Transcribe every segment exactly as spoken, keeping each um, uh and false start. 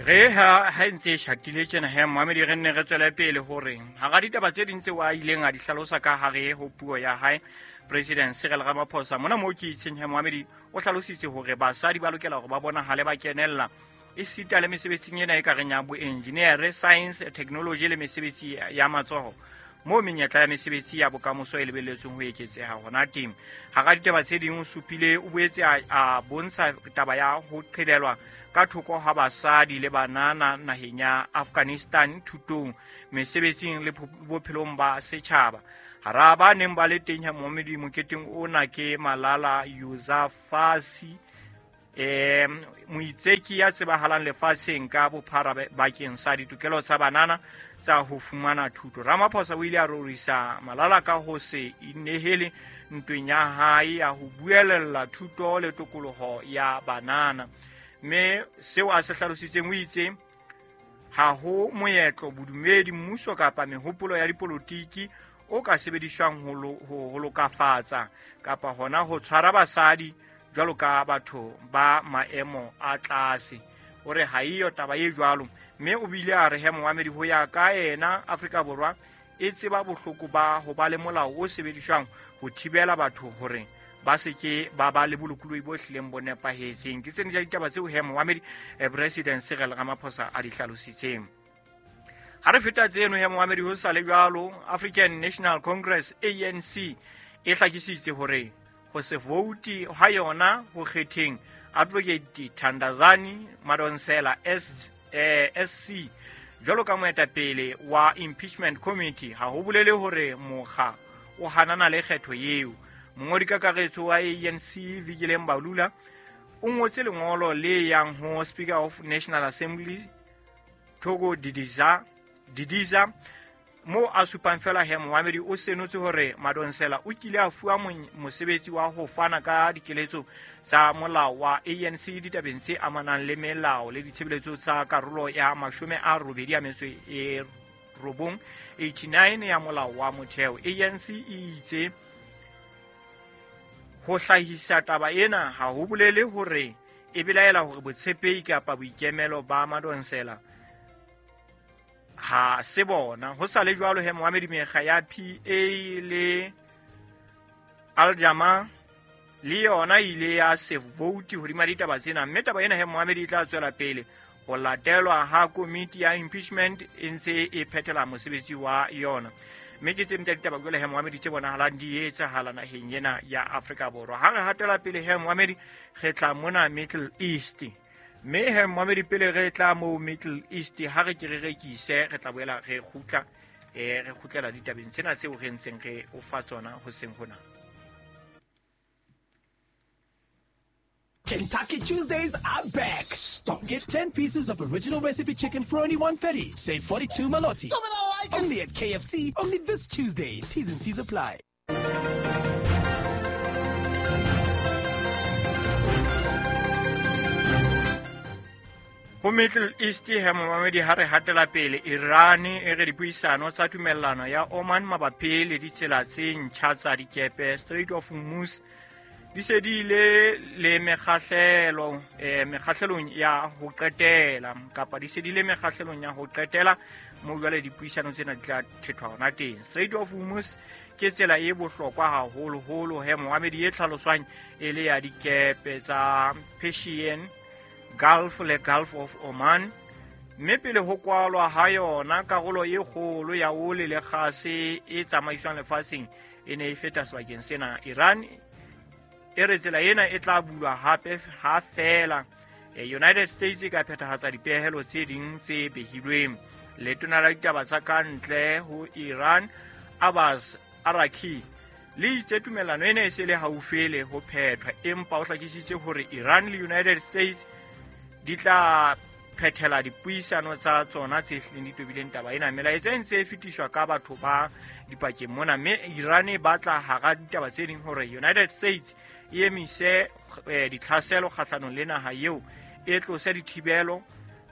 Re ha ha ntse e shatile tjena he Mohamedi, re nne re tswele pele hore hara ditaba tse ding tseo a ileng a di hlalosa ka hare ho puo ya hae President Cyril Ramaphosa mona moo ke itseng he Mohamedi o hlalositse hore basadi ba lokela hore ba bonahale ba kenella esita le mesebetsing ena e ka reng ya boengineere, science, technology le mesebetsi ya matsoho moo menyetla ya mesebetsi ya bokamoso e lebelletsweng ho eketseha hona teng. Hara ditaba tse ding o supile o boetse a bontsha taba ya ho qhelelwa ka thoko ha basadi le banana naheng ya Afghanistan thutong, mesebetsing le bophelong ba setjhaba. Hara ba neng ba le teng ha Mohamedi moketeng ona ke Malala Yousafzai, eh moitseki ya tsebahalang lefatsheng ka bophara bakeng sa ditokelo tsa banana tsa ho fumana thuto. Ramaphosa o ile a rorisa Malala ka ho se inehele ntweng ya hae ya ho buelella thuto le tokoloho ya banana. Mme seo a se hlalositseng o itse ha ho moetlo, bodumedi, mmuso kapa mehopolo ya dipolotiki o ka sebediswang ho lokafatsa kapa hona ho tshwara basadi jwalo ka batho ba maemo a tlase. O re ha eyo taba e jwalo, mme o bile a re he Mohamedi ho ya ka ena Afrika Borwa e tseba bohloko ba ho ba le molao o sebediswang ho thibela batho hore ba se ke ba ba le bolokolohi bo hlileng bo nepahetseng. Ke tsena tsa ditaba tseo he Mohamedi President Cyril Ramaphosa a di hlalositseng. Ha re feta tseno he Mohamedi ho sa le jwalo, African National Congress A N C e hlakisitse hore ho se vote ha yona ho kgetheng Advocate Thandazani Madonsela S eh, S C jwalo ka moetapele wa Impeachment Committee ha ho bolele hore mokga o hanana le kgetho eo. Mongodi kakaretso wa A N C Vikile Mbalula o ngotse lengolo le yang ho Speaker of National Assembly Thoko Didiza Didiza mo a supang fela he Mohamedi o senotse hore Madonsela o kile a fuwa mosebetsi wa ho fana ka dikeletso tsa molao wa A N C ditabeng tse amanang le melao le ditshebeletso tsa karolo ya mashome a robedi a metso e robong eighty-nine ya molao wa motheo. A N C e itse ho hlahisa taba ena ha ho bolele hore e belaela hore botshepehi kapa boikemelo ba Madonsela ha se bona. Ho sa le jwalo he Mohamedi mekga ya P A le Aljama le yona ile ya se vote hodima ditaba tsena, mme taba ena he Mohamedi e tla tswela pele ho latelwa ha komiti ya impeachment e ntse e phethela mosebetsi wa yona. Mme ke tse ding tsa ditaba jwale he Mohamedi tse bonahalang di etsahala naheng ena ya Afrika Borwa. Ha re hatela pele he Mohamedi re tla mona Middle East. Mme he Mohamedi pele re tla mo Middle East ha re ke re rekise re tla boela re kgutla eh re kgutlela ditabeng tsena tseo re ntseng re o fa tsona hoseng hona. Kentucky Tuesdays are back. Stop. Get ten pieces of original recipe chicken for only one thirty. Save forty-two Malotti. Stop it, I like it. Only at K F C, only this Tuesday. T's and C's apply. Ho Middle East he Mohamedi ha re hatela pele Iran e re dipuisano tsa tumellano ya Oman mabapi le ditsela tse ntjha tsa dikepe Strait of Hormuz di se di ile le mekgahlelo eh mekgahlelong ya ho qetela kapa di se di le mekgahlelong ya ho qetela mo jwale dipuisano tsena di tla thethwa hona teng. Strait of Hormuz ke tsela e bohlokwa haholoholo he Mohamedi e tlhaloswang e le ya dikepe tsa Persian Gulf le Gulf of Oman, mme pele ho kwalwa ha yona karolo e kgolo ya oli le kgase e tsamaiswang lefatsheng e ne e feta sebakeng sena. Iran e re tsela ena e tla bulwa hape ha fela United States e ka phethahatsa dipehelo tse ding tse behilweng. Letona la ditaba tsa ka ntle ho Iran Abbas Araki le itse tumellano ena e se le haufi le ho phethwa, empa o hlakisitse hore Iran le United States di tla phethela dipuisano tsa tsona tse hlileng di tobileng taba ena. Melaetsa e ntse e fetiswa ka batho ba dipakeng mona, mme Iran e batla hara ditaba tse ding hore United States e emise ditlhaselo kgahlanong le naha eo, e tlose dithibelo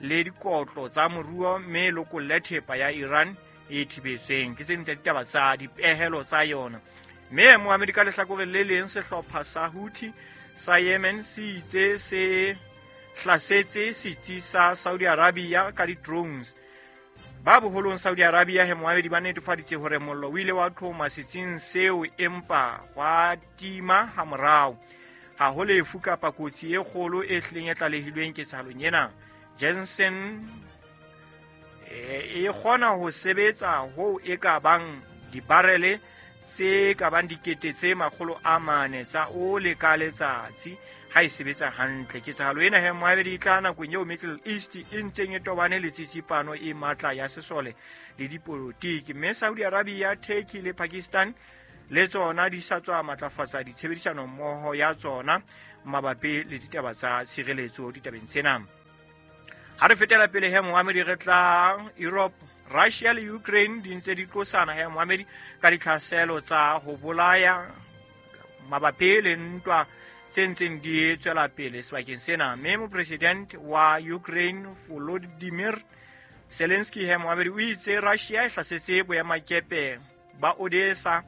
le dikotlo tsa moruo, mme e lokolle thepa ya Iran e thibetsweng. Ke tse ding tsa ditaba tsa dipehelo tsa yona. Mme Mohamedi ka lehlakoreng le leng sehlopha sa Houthi sa Yemen se itse se hlasetse setsi sa Saudi Arabia ka di-drones. Ba boholong Saudi Arabia he moamedi ba netefaditse hore mollo o ile wa qhoma setsing seo empa wa tima hamorao. Ha ho lefu kapa kotsi e kgolo e hlileng e tlalehilweng ketsahalong ena. Jensen e kgona ho sebetsa hoo e ka bang dibarele tse ka bang dikete tse makgolo a mane tsa ole ka letsatsi ha e sebetsa hantle. Ketsahalo ena he moamedi e tla nakong eo Middle East e ntseng e tobane le tsitsipano e matla ya sesole le dipolotiki, mme Saudi Arabia, Turkey le Pakistan le tsona di sa tswa matlafatsa ditshebedisano mmoho ya tsona mabapi le ditaba tsa tshireletso ditabeng tsena. Ha re fetela pele he moamedi re tla Europe, Russia le Ukraine di ntse di tlosana he moamedi ka ditlhaselo tsa ho bolaya mabapi le ntwa tse ntseng di tswela pele sebakeng sena. Mme mopresident wa Ukraine Volodymyr Zelensky he moamedi o itse Russia e hlasetse boemakepe ba Odessa,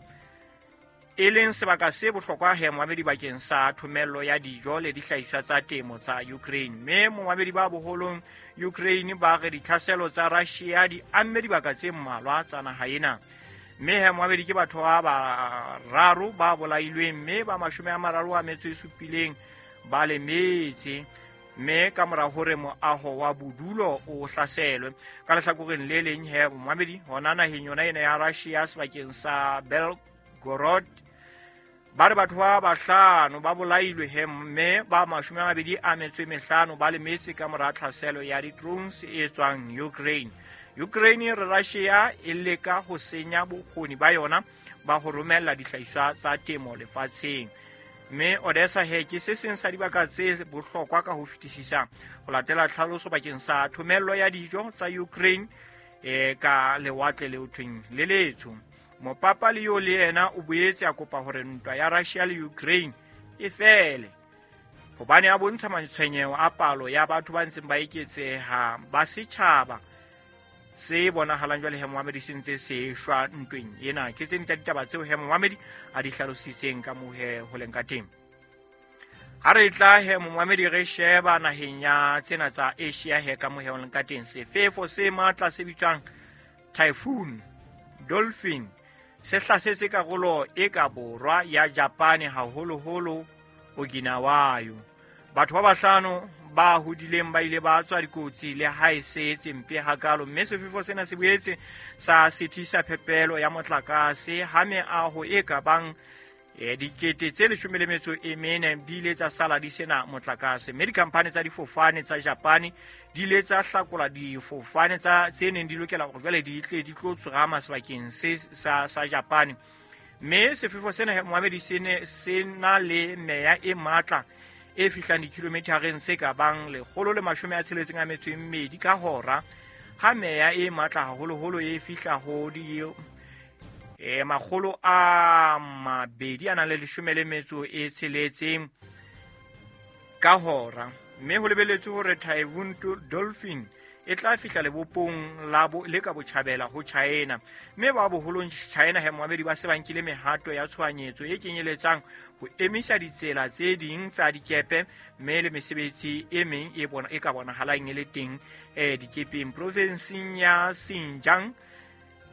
e leng sebaka se bohlokwa he moamedi bakeng sa thomello ya dijo le dihlahiswa tsa temo tsa Ukraine. Mme moamedi ba boholong Ukraine ba re ditlhaselo tsa Russia di amme dibaka tse mmalwa tsa naha ena. Mme he moamedi ke batho ba bararo ba bolailweng mme ba mashome a mararo a metso e supileng ba lemetse, mme ka mora hore moaho wa bodulo o hlaselwe. Ka lehlakoreng le leng he moamedi hona naheng yona ena ya Russia sebakeng sa Belgorod ba re batho ba bahlano ba bolailwe he mme ba mashome a mabedi a metso e mehlano ba lemetse ka mora tlhaselo ya di-drones e tswang Ukraine. Ukraine re Russia e leka ho senya bokgoni ba yona ba ho romella dihlahiswa tsa temo lefatsheng. Mme Odessa he ke se seng sa dibaka tse bohlokwa ka ho fetisisa ho latela tlhaloso bakeng sa thomello ya dijo tsa Ukraine e ka lewatle le thweng le letsho. Mopapa Leo le yena o boetse a kopa hore ntwa ya Russia le Ukraine e fele, hobane a bontsha matshwenyeho a palo ya batho ba ntseng ba eketseha ba setjhaba se bonahalang jwale he moamedi se ntse se shwa ntweng ena. Ke tse ding tsa ditaba tseo he moamedi a di hlalositseng ka moo he ho leng ka teng. Ha re tla he moamedi re sheba naheng ya tsena tsa Asia he ka moo he ho leng ka teng, sefefo se matla se bitswang Typhoon Dolphin se hlasetse karolo e ka borwa ya Japane, haholoholo Okinawa. Batho ba bahlano ba hodileng ba ile ba tswa dikotsi le ha e se etse mpe hakalo, mme sefefo sena se boetse sa sitisa phepelo ya motlakase ha meaho e ka bang e dikete tse leshome le metso e mene di ile tsa sala di sena motlakase. Mme dikhamphane tsa difofane tsa Japane di ile tsa hlakola difofane tsa tse neng di lokela hore jwale di tle di tlo tsorama sebakeng se sa sa Japane. Mme sefefo sena moamedi se ne se na le meya e matla e fihlang dikilomethareng tse ka bang lekgolo le mashome a tsheletseng a metso e mmedi ka hora, ha meya e matla haholoholo e fihla ho di e makgolo a mabedi a nang le leshome le metso e tsheletseng ka hora. Mme ho lebeletswe hore Typhoon Dolphin e tla fihla lebopong la bo le ka botjhabela ho China. Mme ba boholong China he moamedi ba se ba nkile mehato ya tshohanyetso e kenyeletsang ho emisa ditsela tse ding tsa dikepe mme le mesebetsi e meng e bona e ka bonahalang e le teng eh dikepeng. Provinseng ya Xinjiang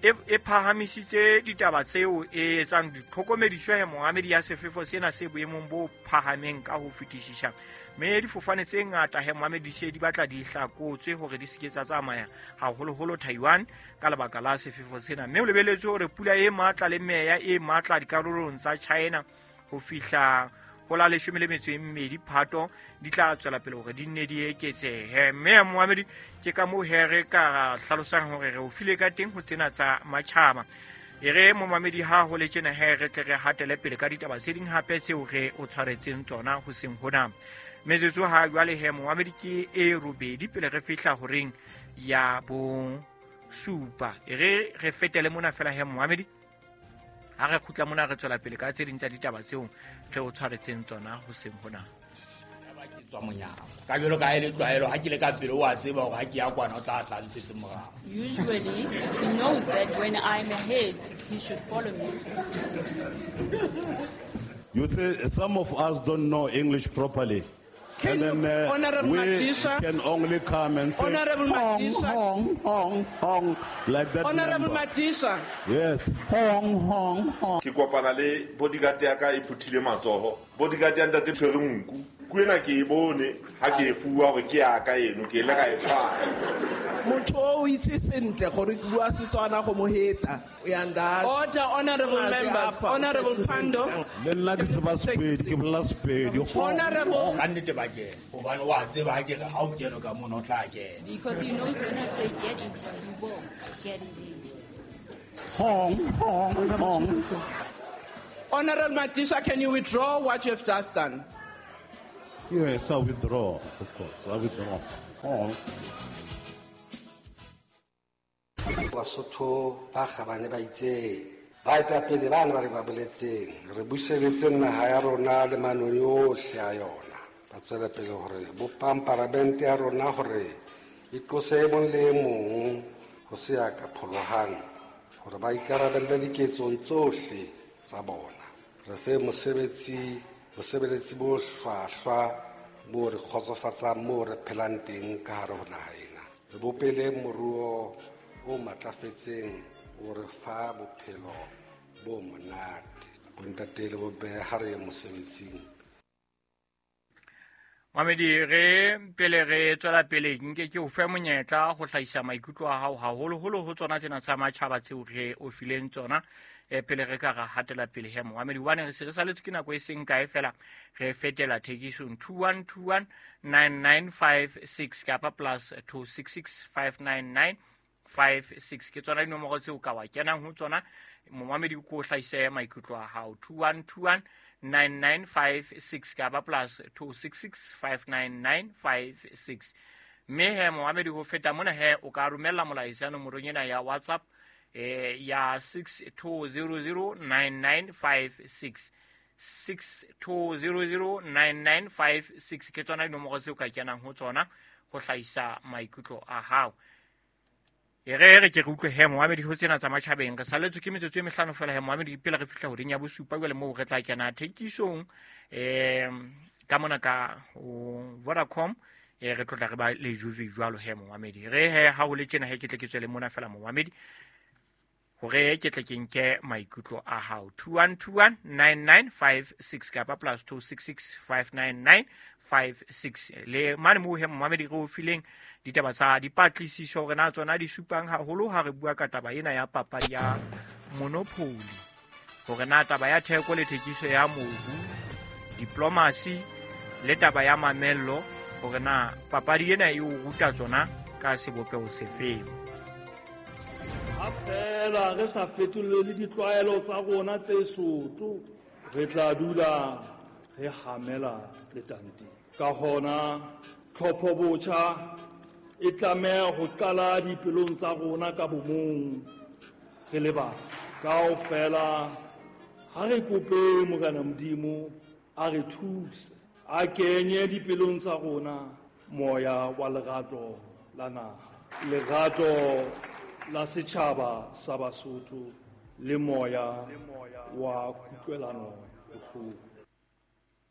e phahamisitse ditaba tseo e etsang ditlhokomediso he moamedi ya sefefo sena se boemong bo phahameng ka ho fetisisa. Mme difofane tse ngata he moamedi se di batla di hlakotswe hore di se ke tsa tsamaya haholoholo Taiwan ka lebaka la sefefo sena. Mme ho lebeletswe hore pula e matla le meya e matla dikarolong tsa China ho fihla ho la leshome le metso e mmedi Phato di tla tswela pele hore di nne di eketsehe. Mme moamedi ke ka moo he re ka hlalosang hore re o file ka teng ho tsena tsa matjhaba. E re momamedi ha ho le tjena he re tle re hatele pele ka ditaba tse ding hape tseo re o tshwaretseng tsona ho seng hona. Metsotso ha jwale he momamedi ke e robedi pele re fihla horeng ya bo supa. E re re fetele mona fela he momamedi, ha re kgutla mona re tswela pele ka tse ding tsa ditaba tseo re o tshwaretseng tsona ho seng hona. Ka jwalo ka e le tlwaelo ha ke le ka pele o a tseba hore ha ke ya kwana o tla tla ntshetse morao. Usually he knows that when I'm ahead he should follow me. You say some of us don't know English properly. Can And then uh, Honorable we Madisha, can only come and say, Honorable hong, Madisha. hong, hong, hong, like that Honorable member. Madisha, Yes, hong, hong, hong. Ke kopana le bodyguard ya ka e phuthile matsoho. Bodyguard ya ntate tshwere nku. Nku ena ke e bone ha ke e fuwa hore ke ya ka eno, ke ile ka e tshwara. Motho o itse sentle gore ke bua Setswana go mo heta. O ya nda. Order, honorable members. Honorable Pandor. Le nna ke tseba Sepedi, ke bolela Sepedi. Hong, Honorable Ka nnete ba kena. Hobane wa tseba ha ke re ha o kene ka mono o tla kena. Because he knows when I say get in here, he will get in there. Hong, hong, hong. Honorable Madisha, can you withdraw what you have just done? Yes, I withdraw, of course. I withdraw. Hong. Basotho ba kgabane ba itseng baetapele ba ne ba re ba boletseng re buseletseng naha ya rona le manoni ohle a yona ba tswela pele hore bopang paramente ya rona hore e qose e mong le e mong ho se ya ka pholohang hore ba ikarabelle diketsong tsohle tsa bona re fe mosebetsi bosebeletsi bo hlwahlwa bo re kgotsofatsang moo re phelang teng ka hare ho naha ena re bopele moruo o matlafetseng o re fa bophelo bo monate bontate le bomme ha re ye mosebetsing. Mamedi, re pele re tswela pele nke ke o fe monyetla go hlahisa maikutlo a hao haholoholo ho tsona tsena tsa matjhaba tseo re o fileng tsona e pele re ka ra hatela pele he Mohamedi hobane re se re saletswe ke nako e seng kae fela re fetela thekisong two one two one nine nine five six kapa plus two six six five nine nine five six ke tsona dinomoro tseo ka wa kenang ho tsona Mohamedi ko hlahise maikutlo a hao two one two one nine nine five six kapa plus two six six five nine nine five six mme he Mohamedi ho feta mona he o ka romella molaetsa nomorong ena ya WhatsApp eh ya six two zero zero nine nine five six six two zero zero nine nine five six ke tsona dinomoro tseo ka kenang ho tsona ho hlahisa maikutlo a hao. E re re ke re utlwe he Mohamedi ho tsena tsa matjhabeng re saletswe ke metsotso e mehlano fela he Mohamedi pele re fihla horeng ya bosupa jwale moo re tla kena thekisong um ka mona ka ho Vodacom e re tlotla re ba le Juve jwalo he Mohamedi re he ha ho le tjena he ke tle ke tswele mona fela Mohamedi hore ke tle ke nke maikutlo a hao two one two one nine nine five six kapa plus two six six five nine nine five six le mane moo he Mohamedi re o fileng ditaba tsa dipatlisiso hore na tsona di supang haholo ha re bua ka taba ena ya papadi ya Monopoly hore na taba ya theko le thekiso ya mobu diplomacy le taba ya mamello hore na papadi ena e o ruta tsona ka sebopeho sefeng. Ha fela re sa fetolele ditlwaelo tsa rona tse soto re tla dula re hamela letante ka hona tlhopho botjha e tlameha ho qala dipelong tsa rona ka bomong re le batho kaofela ha re kope Morena Modimo a re thuse a kenye dipelong tsa rona moya wa lerato la naha lerato la setjhaba sa Basotho le moya wa kutlwelano bohloko.